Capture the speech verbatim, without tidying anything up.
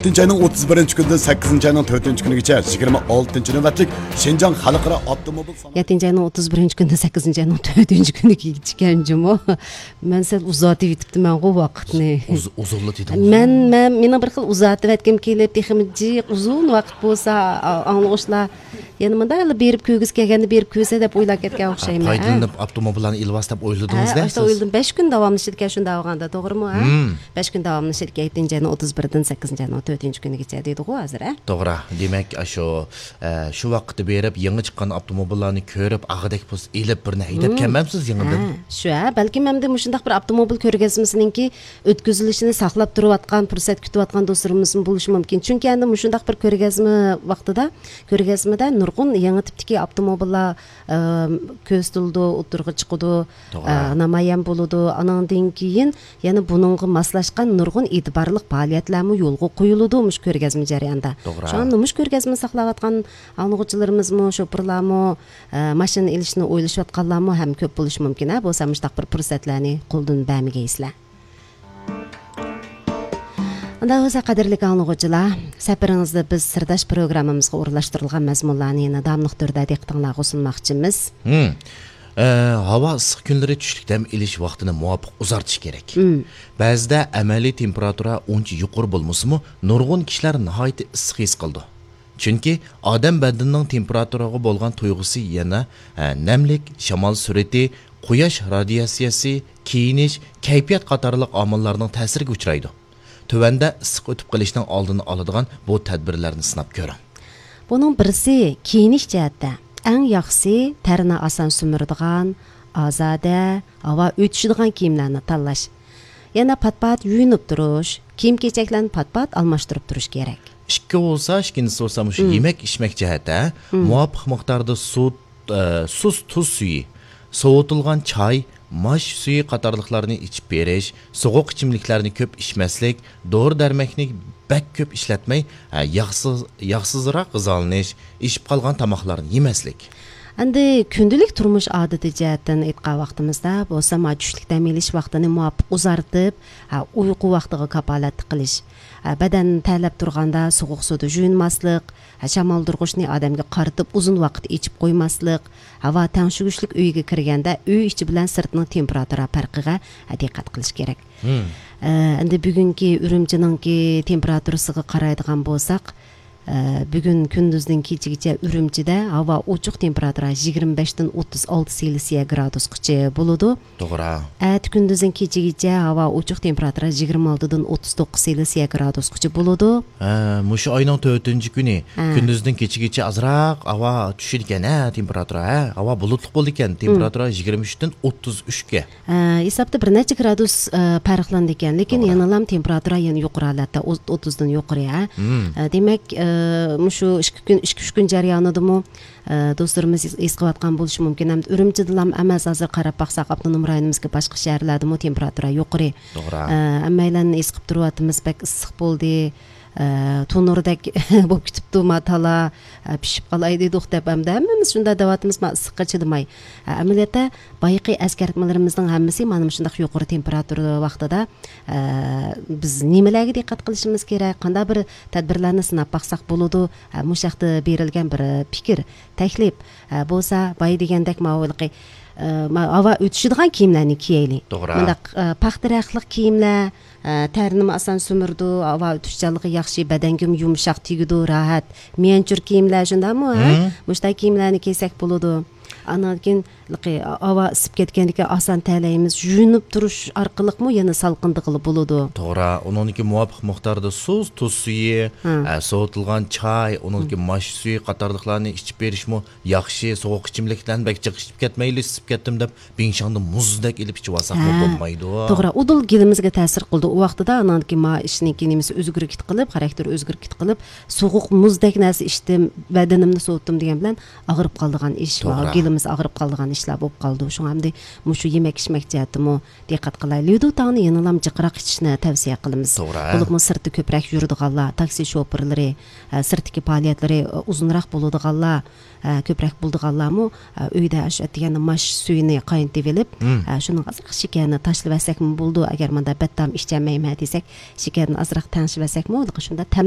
يەتتىنچى ئاينىڭ ئوتتۇز بىرىنچى كۈنىدىن سەككىزىنچى ئاينىڭ تۆتىنچى كۈنىگىچە يىگىرمە ئالتىنچى نۆۋەتلىك شىنجاڭ خەلقئارا ئاپتوموبىل سانائەت يەتتىنچى ئاينىڭ ئوتتۇز بىرىنچى كۈنىدىن سەككىزىنچى ئاينىڭ تۆتىنچى كۈنىگىچە ئىكەن جۇمۇ. مەن سەل ئۇزارتىۋېتىپتىمەنغۇ ۋاقىتنى. ئۇز-، ئۇزۇنلا دېدىڭ. مەن، مەن، مېنىڭ بىر خىل ئۇزارتىۋەتكۈم كېلىپ، تېخىمۇ جىق ئۇزۇن ۋاقىت بولسا، ئا-، ئاڭلىغۇچىلار يەنە مۇنداقلا بېرىپ كۆرگۈسى كەلگەندە بېرىپ كۆرسە دەپ ئويلاپ كەتكەن ئوخشايمەن، ھە؟ پايدىلىنىپ ئاپتوموبىللارنى ئېلىۋالسا دەپ ئويلىدىڭىز ھە، دەيسىز. ئاشۇنداق ئويلىدىم. بەش كۈن داۋاملىشىدىكەن شۇنداق بولغاندا، توغرىمۇ، ھە؟ مم. بەش كۈن داۋاملىشىدىكەن، يەتتىنچى ئاينىڭ ئوتتۇز بىرىدىن سەككىزىنچى ئاينىڭ تۆتىنچى كۈنىگىچە دەيدىغۇ ھازىر، ھە؟ توغرا. دېمەك، ئاشۇ، ئە، شۇ ۋاقىتتا بېرىپ، يېڭى چىققان ئاپتوموبىللارنى كۆرۈپ، ئاغىدەك بولسا ئېلىپ، بىرنى ھەيدەپ مم. كەلمەمسىز يېڭىدىن؟ ھە، شۇ، ھە. بەلكىم ئەمدى مۇشۇنداق بىر ئاپتوموبىل كۆرگەزمىسىنىڭكى ئۆتكۈزۈلۈشىنى ساقلاپ تۇرۇۋاتقان، پۇرسەت كۈتۈۋاتقان دوستلىرىمىزمۇ بولۇشى مۇمكىن. چۈنكى ئەمدى مۇشۇنداق بىر كۆرگەزمە ۋاقتىدا، كۆرگەزمىدە نۇرغۇن يېڭى تىپتىكى ئاپتوموبىللار، ئە، كۆرسىتىلىدۇ، ئوتتۇرىغا چىقىدۇ، توغرا. ئە، نامايان بولىدۇ. ئانىڭدىن كېيىن يەنە بۇنىڭغا ماسلاشقان نۇرغۇن ئېتىبارلىق پائالىيەتلەرمۇ يولغا قويۇلىدۇ مۇشۇ كۆرگەزمە جەريانىدا. توغرا. شۇڭا نومۇش كۆرگەزمىنى ساقلاۋاتقان ئاڭلىغۇچىلىرىمىزمۇ، شوپۇرلارمۇ، ئە، ماشىنا ئېلىشنى ئويلىشىۋاتقانلارمۇ ھەم كۆپ بولۇشى مۇمكىن، ھە، بولسا مۇشۇنداق بىر پۇرسەتلەرنى قولدىن بەرمىگەيسىلەر. ئۇنداق بولسا، قەدىرلىك ئاڭلىغۇچىلار، سەپىرىڭىزدە بىز سىرداش پروگراممىمىزغا ئورۇنلاشتۇرۇلغان مەزمۇنلارنى يەنە داۋاملىق تۈردە دىققىتىڭلارغا سۇنماقچىمىز. ھىم. ئە، ھاۋا ئىسسىق كۈنلىرى چۈشلۈك دەم ئېلىش ۋاقتىنى مۇۋاپىق ئۇزارتىش كېرەك. ھىم. بەزىدە ئەمەلىي تېمپېراتۇرا ئۇنچە يۇقىرى بولمىسىمۇ، نۇرغۇن كىشىلەر ناھايىتى ئىسسىق ھېس قىلىدۇ. چۈنكى ئادەم بەدىنىنىڭ تېمپېراتۇرىغا بولغان تۇيغۇسى يەنە، ئە، نەملىك، شامال سۈرئىتى، قۇياش رادىياتسىيەسى، كىيىنىش، كەيپىيات قاتارلىق ئامىللارنىڭ تەسىرىگە ئۇچرايدۇ. تۆۋەندە ئىسسىق ئۆتۈپ قېلىشنىڭ ئالدىنى ئالىدىغان بۇ تەدبىرلەرنى سىناپ كۆرۈڭ. بۇنىڭ بىرسى، كىيىنىش جەھەتتە ئەڭ ياخشىسى تەرنى ئاسان سۈمۈرىدىغان، ئازادە، ھاۋا ئۆتۈشىدىغان كىيىملەرنى تاللاش. يەنە پات-پات يۇيۇنۇپ تۇرۇش، كىيىم-كېچەكلەرنى پات-پات ئالماشتۇرۇپ تۇرۇش كېرەك. ئىككى بولسا، ئىككىنچىسى بولسا مۇشۇ مم. يېمەك ئىچمەك جەھەتتە مم. مۇۋاپىق مىقداردا سۇ، ئە، سۇس تۇز سۈيى، سوۋۇتۇلغان چاي، ماش سۈيى قاتارلىقلارنى ئىچىپ بېرىش، سوغۇق ئىچىملىكلەرنى كۆپ ئىچمەسلىك، دورا-دەرمەكنى بەك كۆپ ئىشلەتمەي، ئە، ياغسىز، ياغسىزراق غىزالىنىش، ئىشىپ قالغان تاماقلارنى يېمەسلىك. ئەمدى كۈندىلىك تۇرمۇش ئادىتى جەھەتتىن ئېيتقان ۋاقتىمىزدا بولسا، ما چۈشلۈك دەم ئېلىش ۋاقتىنى مۇۋاپىق ئۇزارتىپ، ھە، ئۇيقۇ ۋاقتىغا كاپالەتلىك قىلىش. ھە، بەدەن تەرلەپ تۇرغاندا سوغۇق سۇدا يۇيۇنماسلىق، ھە، شامالدۇرغۇچنى ئادەمگە قارىتىپ ئۇزۇن ۋاقىت ئېچىپ قويماسلىق، ھاۋا تەڭشىگۈچلۈك ئۆيگە كىرگەندە ئۆي ئىچى بىلەن سىرتنىڭ تېمپېراتۇرا پەرقىگە، ھە، دىققەت قىلىش كېرەك. مم. ئە، ئەمدى بۈگۈنكى ئۈرۈمچىنىڭكى تېمپېراتۇرىسىغا قارايدىغان بولساق، ئە، بۈگۈن كۈندۈزدىن كېچىگىچە ئۈرۈمچىدە ھاۋا ئوچۇق، تېمپېراتۇرا يىگىرمە بەشتىن ئوتتۇز ئالتە سېلسىيە گرادۇسقىچە بولىدۇ. توغرا. ئەتە كۈندۈزدىن كېچىگىچە ھاۋا ئوچۇق، تېمپېراتۇرا يىگىرمە ئالتىدىن ئوتتۇز توققۇز سېلسىيە گرادۇسقىچە بولىدۇ. ھە، مۇشۇ ئاينىڭ تۆتىنچى كۈنى ھە. كۈندۈزدىن كېچىگىچە ئازراق ھاۋا چۈشىدىكەن، ھە، تېمپېراتۇرا، ھە، ھاۋا بۇلۇتلۇق بولىدىكەن، مم. تېمپېراتۇرا يىگىرمە ئۈچتىن ئوتتۇز ئۈچكە. ئە، ھېسابتا بىر نەچچە گرادۇس، ئە، پەرقلىنىدىكەن، لېكىن توغرا. يەنىلام تېمپېراتۇرا يەنە يۇقىرى ھالەتتە، ئوت-، ئوتتۇزدىن يۇقىرى، ھە. مم. ئە، دېمەك، ئە، مۇشۇ ئىككى كۈن، ئىككى، ئۈچ كۈن جەريانىدىمۇ، ئە، دوستلىرىمىز ھېس، ھېس قىلىۋاتقان بولۇشى مۇمكىن. ھەم ئۈرۈمچىدىلام ئەمەس، ھازىر قاراپ باقساق، ئاپتونوم رايونىمىزدىكى باشقا شەھەرلەردىمۇ تېمپېراتۇرا يۇقىرى. توغرا. ئە، ھەممەيلەن ھېس قىلىپ تۇرۇۋاتىمىز، بەك ئىسسىق بولدى. ئە، تونۇردەك بولۇپ كېتىپتۇ ما تالا، ئە، پىشىپ قالاي دېدۇق دەپ، ئەمدى ھەممىمىز شۇنداق دەۋاتىمىز، ما ئىسسىققا چىدىماي. ئە، ئەمەلىيەتتە، بايىقى ئەسكەرتمىلىرىمىزنىڭ ھەممىسى مانا مۇشۇنداق يۇقىرى تېمپېراتۇرا ۋاقتىدا، ئە، بىز نېمىلەرگە دىققەت قىلىشىمىز كېرەك، قانداق بىر تەدبىرلەرنى سىناپ باقساق بولىدۇ؟ ئە، مۇشۇ ھەقتە بېرىلگەن بىر پىكىر، تەكلىپ، ئە، بولسا بايا دېگەندەك ماۋۇ ھېلىقى، ئە، ما-، ھاۋا ئۆتۈشىدىغان كىيىملەرنى كىيەيلى. توغرا. مۇنداق، ئە، پاختا رەختلىك كىيىملەر، ئە، تەرنىمۇ ئاسان سۈمۈرىدۇ، ھاۋا ئۆتۈشچانلىقى ياخشى، بەدەنگىمۇ يۇمشاق تېگىدۇ، راھەت. ميەنچۇر كىيىملەر شۇنداقمۇ، ھە؟ مم. مۇشۇنداق كىيىملەرنى كىيسەك بولىدۇ. ئاندىن كېيىن، ھاۋا ئىسسىپ كەتكەندىكىن ئاسان تەرلەيمىز، يۇيۇنۇپ تۇرۇش ئارقىلىقمۇ يەنە سالقىندىغىلى بولىدۇ. توغرا، ئۇنىڭدىن كېيىن مۇۋاپىق مىقداردا سۇس، تۇز سۈيى، ھە. ئە، سوۋۇتۇلغان چاي، ئۇنىڭدىن كېيىن ماش سۈيى قاتارلىقلارنى ئىچىپ بېرىشمۇ ياخشى. سوغۇق ئىچىملىكلەرنى بەك جىق ئىچىپ كەتمەيلى، ئىسسىپ كەتتىم دەپ بىڭشاڭدا مۇزدەك ئېلىپ ئىچىۋالساقمۇ ھە. بولمايدۇ. توغرا، ئۇدۇل گېلىمىزگە تەسىر قىلىدۇ. ئۇ ۋاقتىدا ئانانكى ما ئىشنىڭكى نېمىسى ئۆزگىرىپ كېتىپ قېلىپ، خاراكتېرى ئۆزگىرىپ كېتىپ قېلىپ، سوغۇق مۇزدەك نەرسە ئىچتىم، بەدىنىمنى سوۋۇتتۇم دېگەن بىلەن ئاغرىپ قالىدىغان ئىش، توغرا. گېلىمىز ئاغرىپ قالىدىغان ئىشلار بولۇپ قالىدۇ. شۇڭا ئەمدى مۇشۇ يېمەك ئىچمەك جەھەتتىمۇ دىققەت قىلايلى. ليۇدۇ تاڭنى يەنىلام جىقراق ئىچىشنى تەۋسىيە قىلىمىز. توغرا. بولۇپمۇ سىرتتا كۆپرەك يۈرىدىغانلار، تاكسى شوپۇرلىرى، ئە، سىرتتىكى پائالىيەتلىرى، ئۇزۇنراق بولىدىغانلار، ئە، كۆپرەك بولىدىغانلارمۇ، ئە، ئۆيدە شۇ ئەتىگەندە ماش سۈيىنى قاينىتىۋېلىپ، مم. ئە، شۇنىڭغا ئازراق شېكەرنى تاشلىۋەتسەكمۇ بولىدۇ. ئەگەر مانا بەتتام ئىچەلمەيمەن دېسەك، شېكەرنى ئازراق تەڭشىۋەتسەكمۇ، شۇنداق تەملىك